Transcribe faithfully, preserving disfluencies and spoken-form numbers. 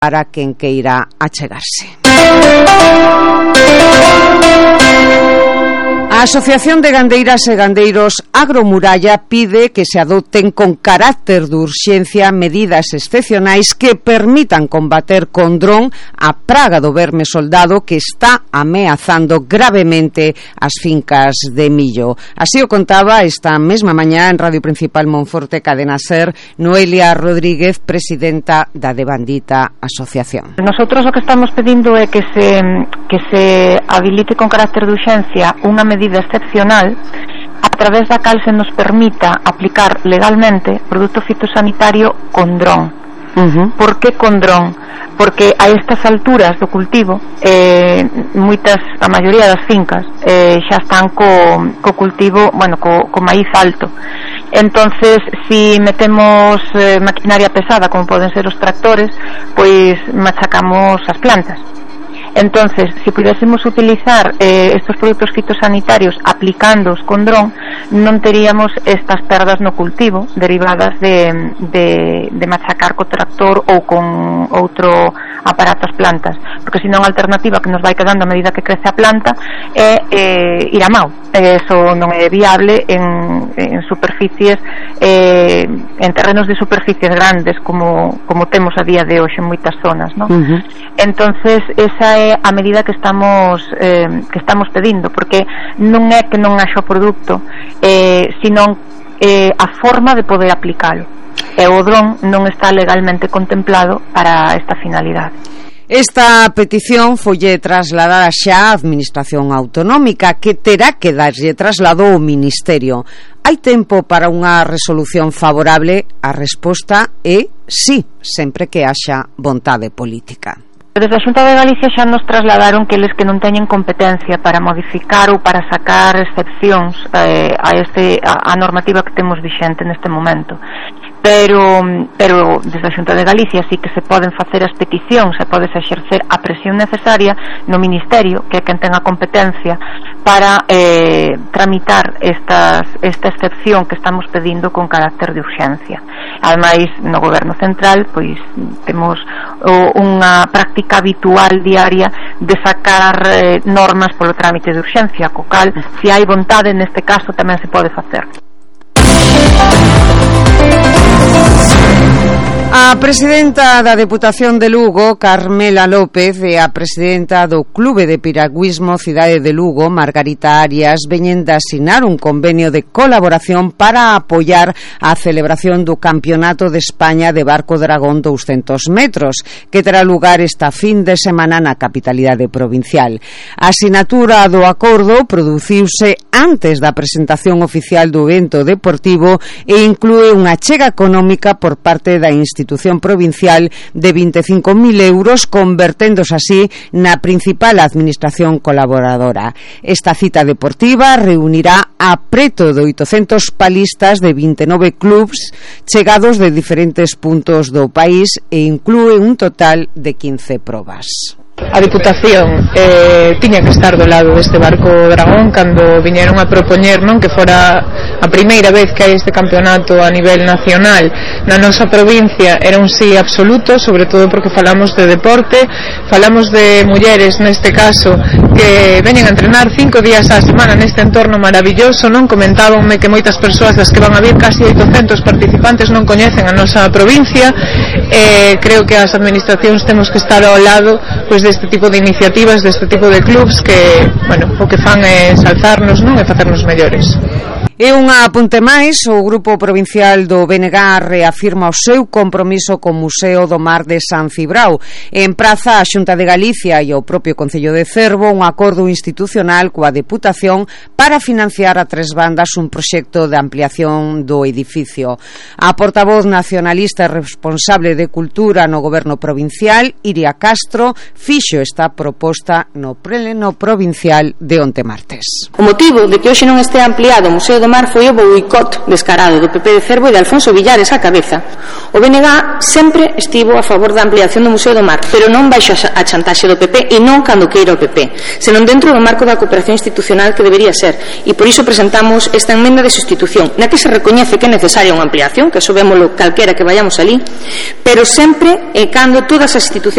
para quen queira achegarse. A Asociación de Gandeiras e Gandeiros Agromuralla pide que se adopten con carácter de urxencia medidas excepcionais que permitan combater con dron a praga do verme soldado que está ameazando gravemente as fincas de millo. Así o contaba esta mesma mañá en Radio Principal Monforte Cadena Ser Noelia Rodríguez, presidenta da devandita asociación. Nosotros o que estamos pedindo é que se, que se habilite con carácter de urxencia unha medida excepcional a través da cal se nos permita aplicar legalmente produto fitosanitario con dron. Uh-huh. Por que con dron? Porque a estas alturas do cultivo eh, moitas, a maioría das fincas eh, xa están co, co cultivo, bueno, co, co maíz alto. Entonces, si metemos eh, maquinaria pesada como poden ser os tractores, pois machacamos as plantas. Entonces, si pudiésemos utilizar eh, estos produtos fitosanitarios aplicándoos con dron, non teríamos estas perdas no cultivo derivadas de, de, de machacar co tractor ou con outro aparato as plantas, porque senón a alternativa que nos vai quedando a medida que crece a planta é eh, ir a mau. Eso non é viable en, en superficies eh, en terrenos de superficies grandes como, como temos a día de hoxe en moitas zonas, ¿no? Uh-huh. Entonces esa é a medida que estamos eh, que estamos pedindo, porque non é que non haxa o produto, eh, senón eh, a forma de poder aplicalo, e o dron non está legalmente contemplado para esta finalidade. Esta petición folle trasladada xa á Administración Autonómica, que terá que darlle traslado ao Ministerio. Hai tempo para unha resolución favorable? A resposta é sí, sempre que haxa vontade política. Desde a Xunta de Galicia xa nos trasladaron que eles que non teñen competencia para modificar ou para sacar excepcións eh, a, este, a, a normativa que temos vixente neste momento. Pero, pero desde a Xunta de Galicia sí que se poden facer as peticións, se pode exercer a presión necesaria no Ministerio, que é quen ten a competencia para eh, tramitar estas, esta excepción que estamos pedindo con carácter de urxencia. Ademais, no Goberno Central pois temos o, unha práctica habitual diaria de sacar eh, normas polo trámite de urxencia, co cal, se hai vontade, neste caso tamén se pode facer. A presidenta da Deputación de Lugo, Carmela López, e a presidenta do Clube de Piragüismo Cidade de Lugo, Margarita Arias, veñen de asinar un convenio de colaboración para apoiar a celebración do Campeonato de España de Barco Dragón douscentos metros, que terá lugar esta fin de semana na capitalidade provincial. A asinatura do acordo produciuse antes da presentación oficial do evento deportivo e inclúe unha achega económica por parte da institución institución provincial de vinte e cinco mil euros, converténdose así na principal administración colaboradora. Esta cita deportiva reunirá a preto de oitocentos palistas de vinte e nove clubs chegados de diferentes puntos do país e inclúe un total de quince probas. A Diputación eh, tiña que estar do lado deste barco Dragón cando viñeron a propoñer, non, que fora a primeira vez que hai este campeonato a nivel nacional na nosa provincia. Era un sí absoluto, sobre todo porque falamos de deporte, falamos de mulleres neste caso que veñen a entrenar cinco días á semana neste entorno maravilloso, non? Comentábanme que moitas persoas das que van a vir, casi oitocentos participantes, non coñecen a nosa provincia. Eh, creo que as administracións temos que estar ao lado pois deste tipo de iniciativas, deste tipo de clubs que, bueno, o que fan é ensalzarnos, non, e facernos mellores. E unha apunte máis, o Grupo Provincial do B N G reafirma o seu compromiso co Museo do Mar de San Cibrao. En praza a Xunta de Galicia e o propio Concello de Cervo un acordo institucional coa Deputación para financiar a tres bandas un proxecto de ampliación do edificio. A portavoz nacionalista e responsable de Cultura no Goberno Provincial, Iria Castro, fixo esta proposta no pleno provincial de onte martes. O motivo de que hoxe non este ampliado o Museo do do Mar foi o boicot descarado do P P de Cervo e de Alfonso Villares á cabeza. O B N G sempre estivo a favor da ampliación do Museo do Mar, pero non baixo a chantaxe do P P e non cando queira o P P, senón dentro do marco da cooperación institucional que debería ser, e por iso presentamos esta enmenda de sustitución na que se recoñece que é necesaria unha ampliación, que eso vémolo calquera que vayamos ali, pero sempre e cando todas as institucións